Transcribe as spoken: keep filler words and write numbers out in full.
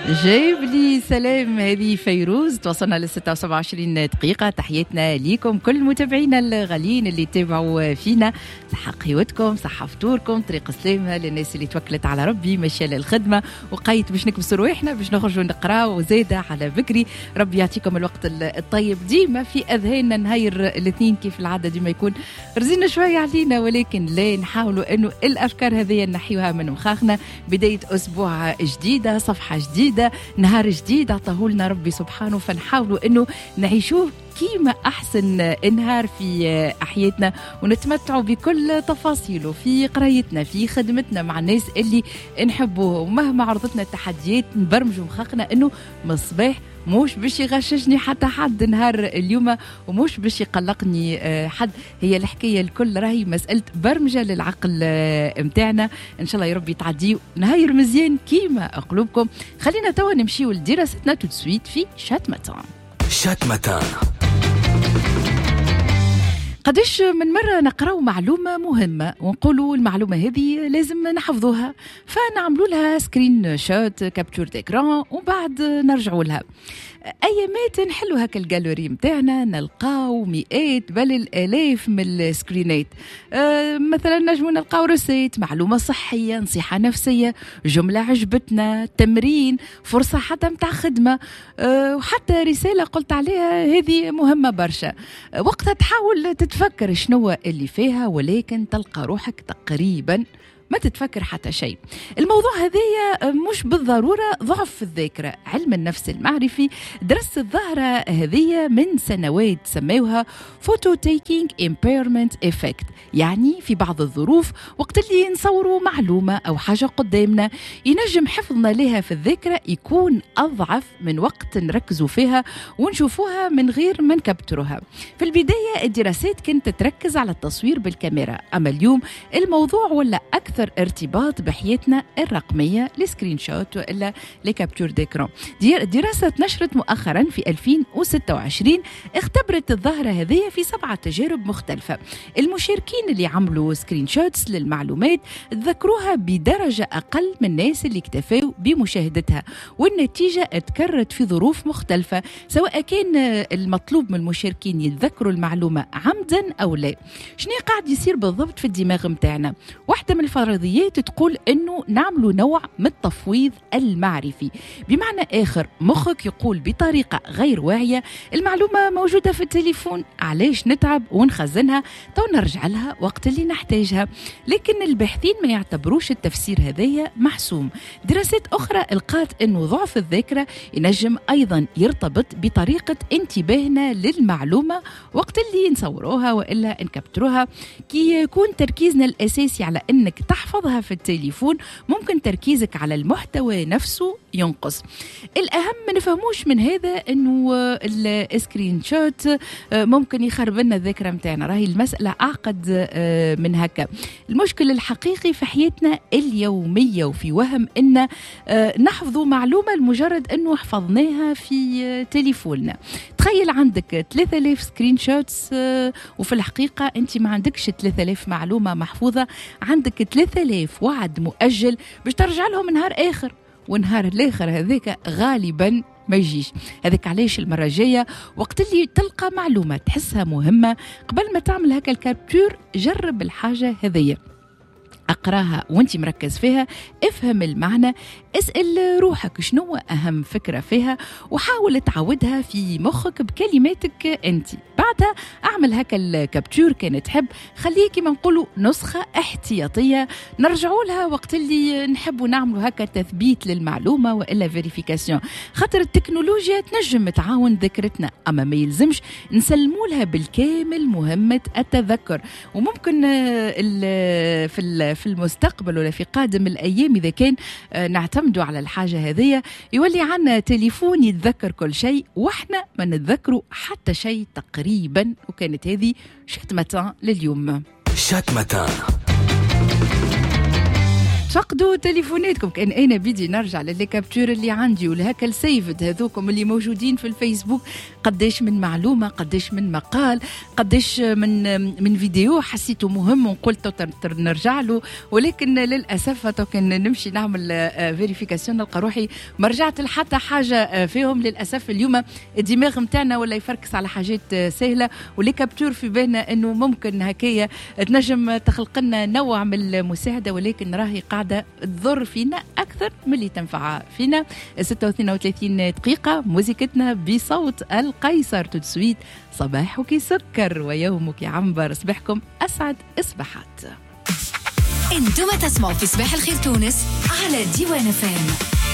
جايب لي سلام. هذه فيروز. توصلنا ل ستة وسبعة وعشرين دقيقة. تحياتنا ليكم كل متابعينا الغاليين اللي تابعوا فينا. صحة قهوتكم، صحة فطوركم، طريق سلامة للناس اللي توكلت على ربي ماشية للخدمة وقيت باش نكبسوا رواحنا باش نخرجوا نقراو وزادة على بكري. ربي يعطيكم الوقت الطيب. ديما في أذهاننا نهاير الاثنين كيف العادة ديما يكون رزينا شوية علينا، ولكن لا نحاولوا أنه الأفكار هذه نحيوها من مخاخنا. بداية أسبوع جديدة، صفحة جديدة، نهار جديد عطاهولنا ربي سبحانه، فنحاولوا انه نعيشوه كيما احسن نهار في حياتنا ونتمتعوا بكل تفاصيله في قرايتنا، في خدمتنا، مع الناس اللي نحبوه. ومهما عرضتنا التحديات نبرمجوا مخاخنا انه من الصباح موش باش يغششني حتى حد نهار اليوم وموش باش يقلقني حد. هي الحكاية الكل راهي مسألة برمجة للعقل متاعنا. إن شاء الله يا ربي تعديو نهار مزيان كيما قلوبكم. خلينا توا نمشيو لدراستنا tout de suite في Chat Matin. Chat Matin. قداش من مرة نقراو معلومة مهمة ونقولوا المعلومة هذه لازم نحفظوها، فنعملوا لها screenshot، capture d'écran، وبعد نرجعوا لها. ايامات نحلوا هكا الجالوري متاعنا نلقاو مئات بل الالاف من السكرينات. أه مثلا نجمو نلقاو recette، معلومة صحيه، نصيحة نفسيه، جملة عجبتنا، تمرين، فرصة حتى متاع خدمة، أه وحتى رسالة قلت عليها هذه مهمة برشا. أه وقتها تحاول تتفكر شنو اللي فيها، ولكن تلقى روحك تقريبا ما تتفكر حتى شيء. الموضوع هذايا مش بالضرورة ضعف في الذاكرة. علم النفس المعرفي درس الظاهرة هذه من سنوات، سموها photo taking impairment effect. يعني في بعض الظروف وقت اللي نصوروا معلومة أو حاجة قدامنا ينجم حفظنا لها في الذاكرة يكون أضعف من وقت نركزوا فيها ونشوفوها من غير ما نكبتروها. في البداية الدراسات كانت تركز على التصوير بالكاميرا، أما اليوم الموضوع ولا أكثر ارتباط بحياتنا الرقمية، ال screenshot وإلا les captures d'écran. دراسة نشرت مؤخرا في ألفين وستة وعشرين اختبرت الظاهرة هذه في سبعة تجارب مختلفة. المشاركين اللي عملوا screenshots للمعلومات تذكروها بدرجة أقل من الناس اللي اكتفوا بمشاهدتها، والنتيجة تكررت في ظروف مختلفة، سواء كان المطلوب من المشاركين يتذكروا المعلومة عمدا أو لا. شنو قاعد يصير بالضبط في الدماغ متاعنا؟ واحدة من الفرضيات تقول انه نعملوا نوع من التفويض المعرفي. بمعنى اخر مخك يقول بطريقة غير واعية المعلومة موجودة في التليفون، علاش نتعب ونخزنها، تو نرجع لها وقت اللي نحتاجها. لكن الباحثين ما يعتبروش التفسير هذايا محسوم. دراسات اخرى لقات انه ضعف الذاكرة ينجم ايضا يرتبط بطريقة انتباهنا للمعلومة وقت اللي نصوروها والا نكبتروها. كي يكون تركيزنا الاساسي على انك تحفظها في التليفون ممكن تركيزك على المحتوى نفسه ينقص. الأهم ما نفهموش من هذا أنه ال screenshot ممكن يخرب لنا الذاكرة متاعنا، راهي المسألة أعقد من هكا. المشكل الحقيقي في حياتنا اليومية وفي وهم أن نحفظ معلومة لمجرد أنه حفظناها في تليفوننا. تخيل عندك ثلاثة آلاف screenshots وفي الحقيقة أنت ما عندكش ثلاثة آلاف معلومة محفوظة، عندك ثلاثة آلاف وعد مؤجل باش ترجع لهم نهار آخر، ونهار الآخر هذاك غالبا ما يجيش. هذاك علاش المرة الجاية وقت اللي تلقى معلومة تحسها مهمة قبل ما تعمل هكا ال capture جرب الحاجة هذية، أقراها وانت مركز فيها، افهم المعنى، اسأل روحك شنو أهم فكرة فيها وحاول تعودها في مخك بكلماتك انت. بعدها اعمل هكا ال capture كان تحب، خليه كما نقولوا نسخة احتياطية نرجعوا لها وقت اللي نحبوا نعملوا هكا تثبيت للمعلومة وإلا vérification. خاطر التكنولوجيا تنجم تعاون ذاكرتنا، أما ما يلزمش نسلموا لها بالكامل مهمة التذكر. وممكن في في المستقبل ولا في قادم الأيام إذا كان نعتمدوا على الحاجة هذه يولي عنا تليفون يتذكر كل شيء وإحنا ما نتذكروا حتى شيء تقريبا. وكانت هذه Chat Matin لليوم. Chat Matin. تفقدوا تليفوناتكم. كان انا بدي نرجع ل les captures اللي عندي ولهكا ال saved هذوكم اللي موجودين في الفيسبوك، قداش من معلومه، قداش من مقال، قداش من من فيديو حسيته مهم وقلت نرجع له، ولكن للاسف كان نمشي نعمل vérification نلقى روحي ما رجعت لحتى حاجة فيهم. للاسف اليوم الدماغ نتاعنا ولا يفركس على حاجات سهله، و les captures في بالنا انه ممكن هكايا تنجم تخلق لنا نوع من المساعده، ولكن راهي قاعدة تضر فينا اكثر من اللي تنفع فينا. ستة واثنين وثلاثين دقيقة موزيكتنا بصوت القيصر tout de suite. صباحك سكر ويومك عنبر، صباحكم اسعد اصباحات. انتم تسمعوا في صباح الخير تونس على ديوان اف ام.